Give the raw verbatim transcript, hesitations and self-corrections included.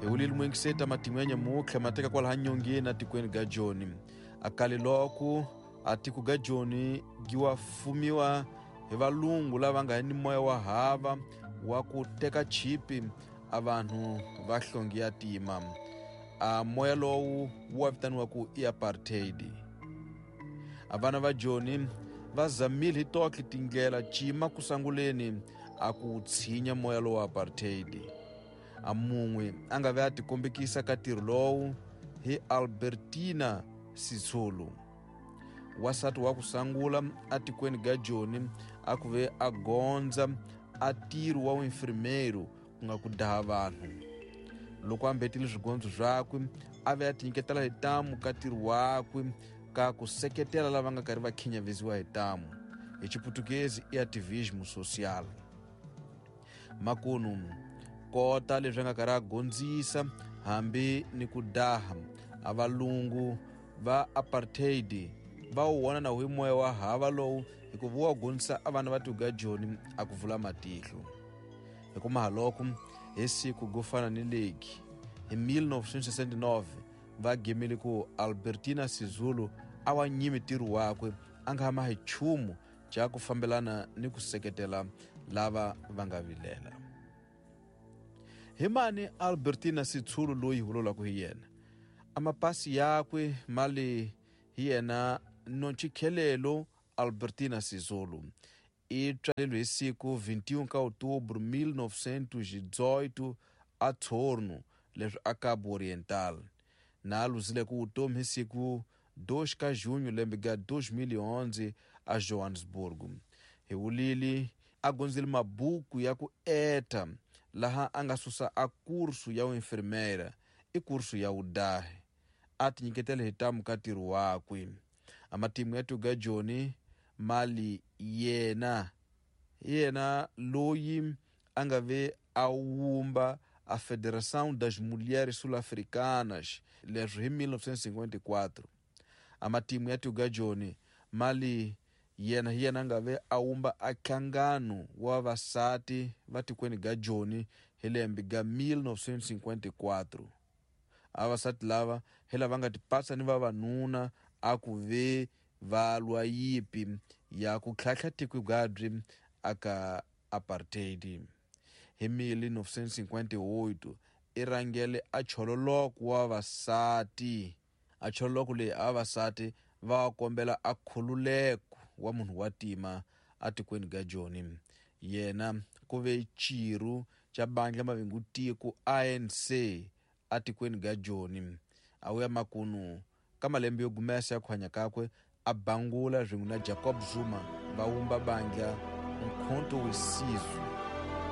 Hi wulile muingiseti matimu ya nyamutlha ma teka kwalaha nyongeni atikweni ga Joni. Akale loko a tiko ga Joni gi wa fumiwa hi valungu lava nga ni moya wa hava wa ku teka chipi a vanhu va hlongi ya tima. A moya lowu wu vitaniwa ku i apartheid. A vana va Joni va zamile hi tohle tindlela cima ku sanguleni a ku tshinya moya lowu wa apartheid. A mun'we a nga ve a tikombekisa ka ntirho lowu hi Albertina Sisulu. Wasati wa ku sangula atikweni ga Joni a ku ve a gondza a ntirho wa uinfirmeiro ku nga ku daha vanhu. Loko a mbetile swigondzo swakwe a ve a tinyiketela hi ntamu ka ntirho wakwe ka ku seketela lava nga karhi va khinyavisiwa hi ntamu. Hi Xiputukezi i ativismo social. Makunu kota leswi a nga karhi a gondzisa hambi ni ku daha a valungu va apartheid va wu vona na hi moya wa hava lowu hikuva wu wa gondzisa a vana va tiko Joni a ku vula matihlo. Hi kuma haloko hi siku go fana ni leki hi mil novecentos e sessenta e nove va gemile ku Albertina Sisulu a wa nyimi ntirho wakwe a nga hama hi nchumu xa ku fambelana ni ku seketela lava va nga vilela. Hi mani Albertina Sisulu loyi hi vulavulaka hi yena? A mapasi yakwe mali hi yena Nontshikelelo Albertina Sisulu. I tswaleriwe hi siku vinte e um ka outubro mil novecentos e dezoito a Torno, leswi a Cabo Oriental. Na a luzile ku vutomi hi siku dois ka junho lembe ga dois mil e onze a Johannesburg. Hi wulili a gondzile mabuku ya ku eta laha a nga susa a kursu ya uinfirmeira i kursu ya udahe. A tinyiketele hi ntamu ka ntirho wakwe. A matimu ya tiko ga Joni mali yena yena loyi a nga ve a wumba a Federação das Mulheres Sul-Africanas leswi hi mil novecentos e cinquenta e quatro. A matimu ya tiko ga Joni mali yena hi yena a nga ve a wumba a nhlangano wa vavasati va tikweni ga Joni hi lembe ga mil novecentos e cinquenta e quatro. A vavasati lava hi lava nga tipatsa ni vavanuna a ku ve va lwa yipi ya ku tlhantlha tiko gabyi aka apartheid. Hi mil novecentos e cinquenta e oito i rhangele a chololoko wa vavasati. A chololoko leyi a vavasati va kombela a khululeko wa munhu wa tima atikweni ga Joni. Yena ku ve xiru xa bandla mavingu tiko A N C atikweni ga Joni. A wuya makunu ka malembe yo gumesa ya ku hanya kakwe a bangula swin'we na Jacob Zuma va wumba bandla Umkhonto we Sizwe.